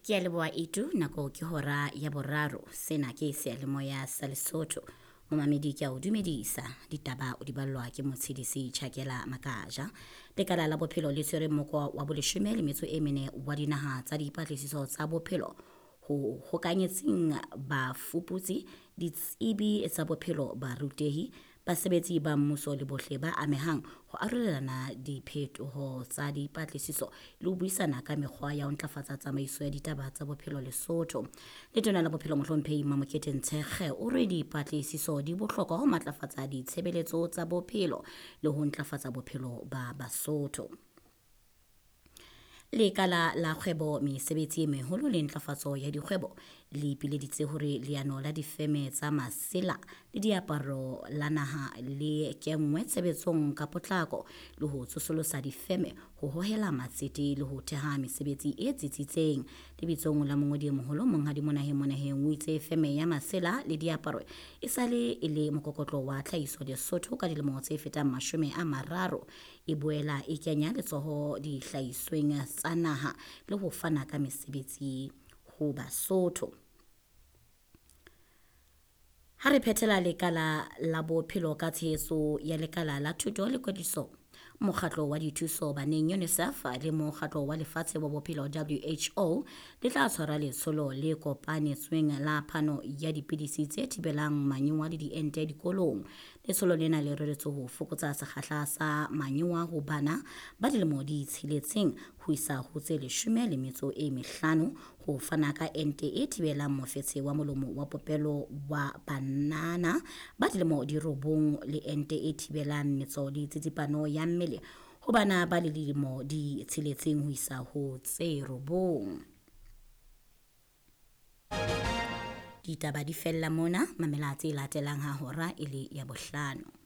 Ke a leboha Itu, nako ke hora ya boraro. Sena ke seyalemoya sa Lesotho. Momamedi ke a o dumedisa. Ditaba o di ballwa ke Motshedisi Chakela Makaja. Lekala la bophelo le tshwere mokwa wa boleshome le metso e mene wa dinaha tsa dipatlisiso tsa bophelo ho hokanyetseng bafuputsi, ditsebi tsa bophelo, barutehi, basebetsi ba mmuso le bohle ba amehang ho arolelana diphetoho tsa dipatlisiso le ho buisana ka mekgwa ya ho ntlafatsa tsamaiso ya ditaba tsa bophelo Lesotho. Letona la bophelo mohlomphehi Mamokete Ntshekge o re dipatlisiso di bohlokwa ho matlafatsa ditshebeletso tsa bophelo le ho ntlafatsa bophelo ba Basotho. Lekala la kgwebo, mesebetsi e meholo le ntlafatso ya dikgwebo le ipileditse hore leano la difeme tsa masela le diaparo la naha le kenngwe tshebetsong ka potlako le ho tsosolosa difeme ho hohela matsete le ho theha mesebetsi e tsitsitseng. Lebitsong la mongodi e moholo Monghadi Monaheng Monaheng o itse feme ya masela le diaparo e sale e le mokokotlo wa tlhahiso Lesotho ka dilemo tse fetang 30. E boela e kenya letsoho dihlahisweng tsa naha le ho fana ka mesebetsi ho Basotho. Ha re phethela lekala la bophelo ka tshehetso ya lekala la thuto le kwetliso, mokgatlo wa dithuso baneng UNICEF le mokgatlo wa lefatshe wa bophelo WHO le tla tshwara letsholo le kopanetsweng la phano ya dipidisi tse thibelang manyowa le diente dikolong. Letsholo lena le reretswe ho fokotsa sekgahla sa manyowa ho bana ba dilemo di tsheletseng ho isa ho tse 15, ho fana ka ente e thibelang mofetshe wa molomo wa popelo wa banana ba dilemo di 9 le ente e thibelang metso le tsitsipano ya mmele ho bana ba le dilemo di 6 ho isa ho tse 9. Ditaba di fella mona, mamela tse latelang ha hora e le ya bohlano.